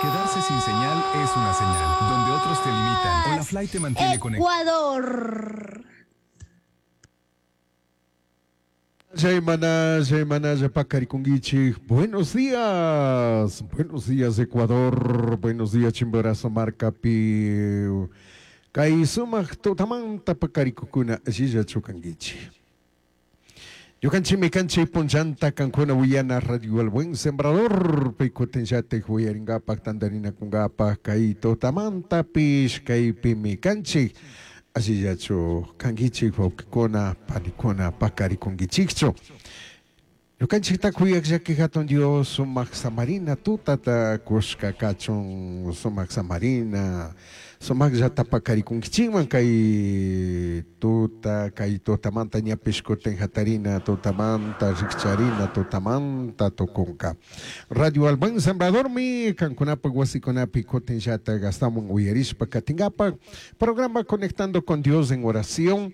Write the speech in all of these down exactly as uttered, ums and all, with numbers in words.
Quedarse sin señal es una señal, donde otros te limitan. Holafly te mantiene conectado. Ecuador. Semana, semana, Pacarikunguichi. Buenos días, buenos días Ecuador, buenos días Chimborazo Marcapi. Kay sumaq tutamanta pakarikukuna allilla chukankichi. Ñukanchikmi kanchik punllanta kankuna willana Radio El Buen Sembrador pikutinllatik willarinkapak tantarinakunkapak kay tutamantapish kaypimi kanchik allillachu kankichik wawqikuna panikuna pakarikunkichikchu. Ñukanchikta kuyaq llaki hatun Dios sumaq samarina tutata kushka kachun sumaq samarina sumaqllata pakarikunkichikman kay tuta kay tutamanta ñapish kutin hatarina tutamanta rikcharina tutamanta tukunka. Radio El Buen Sembradormi kankunapak wasikunapi kutinllata gastamun uyarishpa katinkapak programa Conectando con Dios en oración.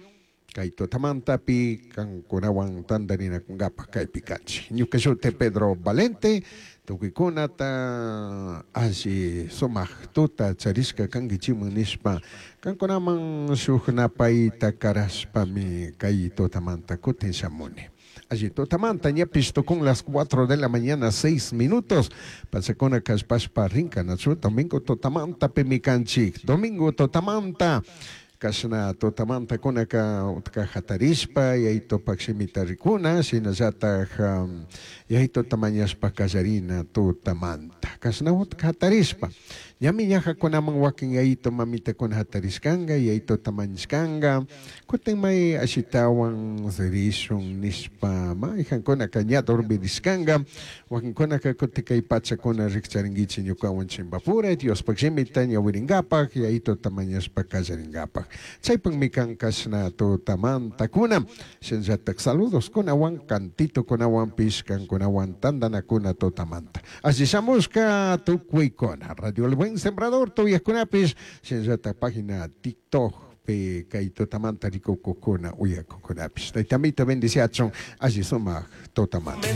Kay tutamantapi kankunawan tantarinakunkapak kaypi kanchik. Ñuka shuti Pedro Valente, tukuykunata alli sumaq tuta charishka kankichikman nishpa kankunaman shuk napayta karashpami kay tutamanta kutin shamuni. Allí tutamanta ñapish tukun las cuatro de la mañana seis minutos. Pachakuna kallpashpa rinka nachu domingo tutamanta pimi kanchik. Domingo tutamanta. Kashna tutamanta kunaka utka hatarishpa yaytupak shimita rikuna shinallatak um, yaytuta mañashpa kallarina tutamanta kashna utka hatarishpa ñami ñajakunaman wakin yaytu mamitakuna hatarishkanka yaytuta mañashkanka kutin may ashitawan rishun nishpa mayjankunaka ña dormirishkanka wakinkunaka kutin kay pachakuna rikcharinkichik ñukawan chimpapura Diospak shimita ñawirinkapak yaytuta mañashpa kallarinkapak. Chaypakmi kan kashna tutamantakuna shinallatak saludos kunawan cantito kunawanpish kankunawan tantanakuna tutamanta. Alli shamushka tukuykuna Radio El Buen Sembrador tuyajkunapish shinallatak página TikTok pi kay tutamanta rikukukuna uyakukunapish. Taytamito bendiciachun alli sumaq tutamanta.